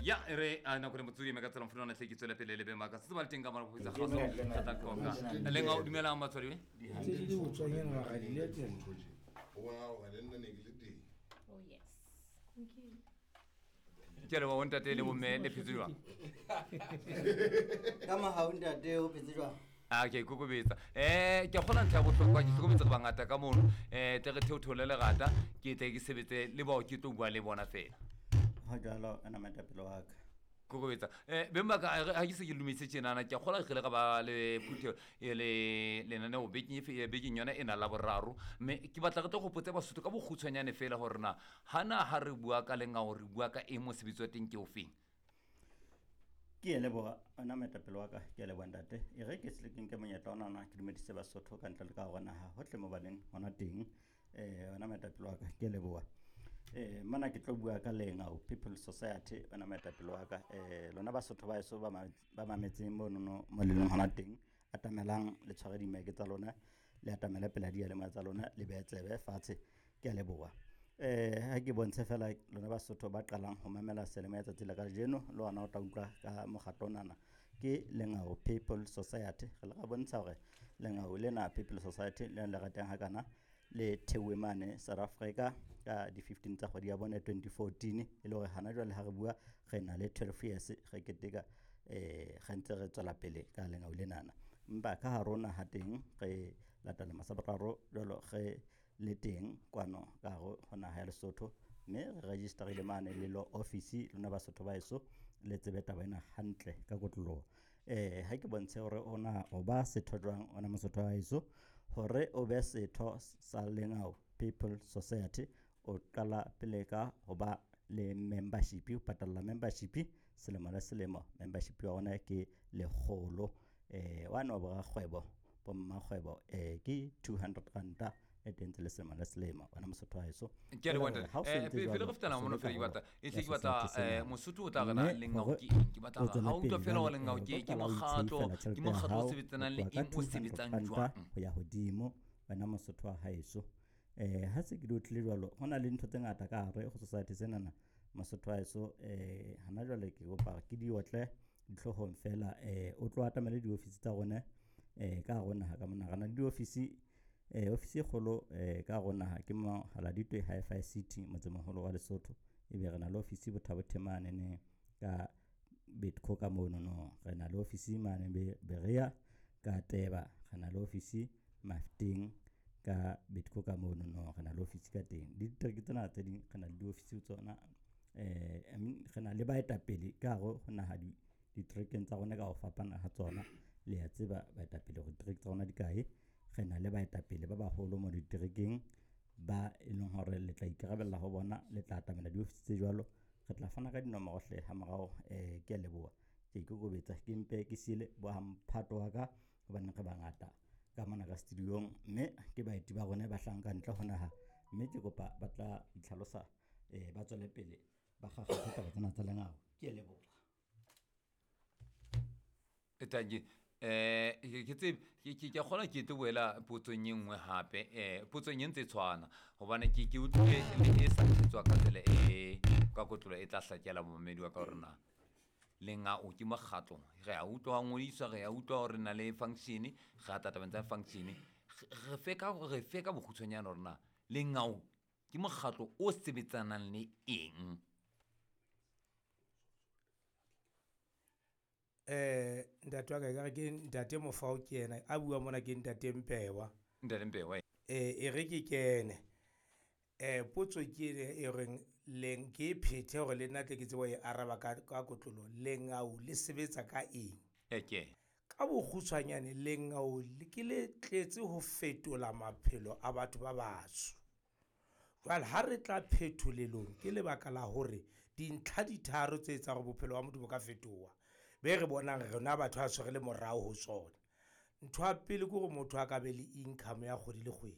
Ya e re a nako le motsodi me ka tsela mfuna tle ke tswele pele le be maka se ba le teng ka mara go itsa kgaso ka tla qoqa le nga o dumelang batswadi. Tse di di botswanyana wa ga di letela. O bona gore le nna ne ke le teng. Oh yes. Ke le bo ntate le bomme, le phetse jwang? Ka mogau ntate, o phetse jwang? A ke ikokobetsa, ke kgona ntlha ya bohlokwa, ke hlokometse re bangata ka mono, tle re theotheole lerata, ke tle ke sebetse le bao ke tlo bua le bona fela. Go jalo, ana moetapele wa ka. Kokobetsa, beng ba ka, ha ke se ke lumetse tjenana, ke a kgola re ile ra ba le phutheo e le lenaneo bekeng bekeng yona e na la boraro, mme ke batla re tlo gopotse Basotho ka bokgutshwanyane fela gore na hana ha re bua ka lengao re bua ka eng, mosebetsi wa teng ke o feng? Ke a leboga, ona moetapele wa ka, ke a leboga ntate. E re ke se ke nke monyetla onana ke dumedise Basotho ka ntle le ka gore naga gotlhe mo baleng gona teng. Ona moetapele wa ka, ke a leboga. Mona ke tlo bua ka Lengau People Society, ona moetapele wa ka. Lona Basotho ba eso ba mametseng monono mo le leng gona teng, atamelang le tshware dimeke tsa lona, le atamele pela diyalemoya tsa lona, le behe tsebe fatshe. Ke a leboga. Ha ke bontshe fela lona Basotho ba qalang ho mamela seyalemoya tsatsi la kajeno, le ona o tla utlwa ka mokgatlo onana ke Lengau People Society. Re le ra bontsha hore Lengau lena People Society le le ratang hakana le theuwe mane South Africa ka di-15 tsa kgwedi ya bone 2014, e le hore hana jwale ha re bua re na le 12 years re keteka, re ntse re tswela pele ka lengau lenana. Empa ka hare ho naha teng re latela masaboraro jwalo re le teng kwano ka hare ho naha ya Lesotho, mme re registerile mane le law office. Lona Basotho ba heso le tsebe taba ena hantle ka kotloloho. Ha ke bontshe hore ona o ba setho jwang, ona Mosotho wa heso, hore o be setho sa Lengau People Society o qala pele ka ho ba le membership, o patalla membership selemo le selemo. Membership ya rona ke 100. Wane wa borakgwebo, bommakgwebo, ke 200 ranta e teng le selemo le selemo, wena Mosotho wa heso. Ke a leboha ntate. Ha o sentse Pele jwalo, re fetela o mono se fela, ke karolo batla e ya hle ke batla society sena. Mosotho o tla re na Mme lengau hore ke eng? Ke batla o tswele ha o utlwa pele fela hore jwale, lengau ke o ke tla o mokgatlo, itshehela ke tjhelete ya mokgatlo o hao, sebetsanang le ho tloha eng, ka o 200 sebetsang ranta jwang? ho ya hodimo, wena Mosotho wa haeso. Ha se ke di utlwile jwalo, ho na le ntho tse ngata ka hare ho society senana, Mosotho wa heso. Hana jwale ke kopa ke di otle dihloohong fela. O tlo atamele diofisi tsa rona ka hare ho naha ka mona. Re na le diofisi, ofisi e kgolo ka hare ho naha ke Mohaladitwe Hi-Fi City, motsemoholo wa Lesotho. Ebe re na le ofisi Botha-Bothe mane ka Betco ka mono no. Re na le ofisi mane Berea ka Teba. Re na le ofisi Mafteng ka Betco ka mono no. Re na le ofisi ka teng. Le ditereke tsena tse ding re na le diofisi tsona. I mean, re na le baetapele ka hare ho naha diterekeng tsa rona ka ho fapana ha tsona. Le a tseba baetapele hore ditereke tsa rona di kae. Re na le baetapele ba baholo mo diterekeng ba e leng hore le tla ikarabella ho bona, le tla atamela diofisi tse jwalo. Re tla fana ka dinomoro hle ha morao. Ke a leboha, ke ikokobetsa, ke mpe ke siele bo mphato wa ka hobane re bangata ka mona ka studio-ong, mme ke baeti ba rona ba hlahang ka ntle ho naha, mme ke kopa ba tla itlhalosa, ba tswele pele ba kgakgathe taba tsena tsa lengau. Ke a leboha. Tanki, ke tsebe, ke a kgona ke tlo boela potsong e nngwe hape, potsong e ntse e tshwana hobane ke utlwile le e sa thetswa ka tsela e ka kotlolo e tla hlakela momamedi wa ka hore na lengau ke mokgatlo. Re a utlwa wa ngodiswa, re a utlwa hore na le function, re a tla tabeng tsa function. Re fe ka bokgutshwanyane hore na lengau ke mokgatlo o sebetsanang le eng? Ntate wa ka, ekare ke ntate Mofao ke yena a bua mona, ke ntate Mpewa. Ntate Mpewa. E re ke kene. Potso ke ene e reng leng ke e phethe hore le nna tle ke tsebe ho e araba ka kotlolo. Lengau le sebetsa ka eng? Ke. Ka bokgutshwanyane, lengau le ke le tletse ho fetola maphelo a batho ba batsho. Jwale ha re tla phetholelong ke lebaka la hore dintlha di tharo tse etsang hore bophelo ba motho bo ka fetoha, be re bonang rona batho ba tshwere le morao ho tsona. Ntho ya pele ke hore motho a ka be le income ya kgwedi le kgwedi.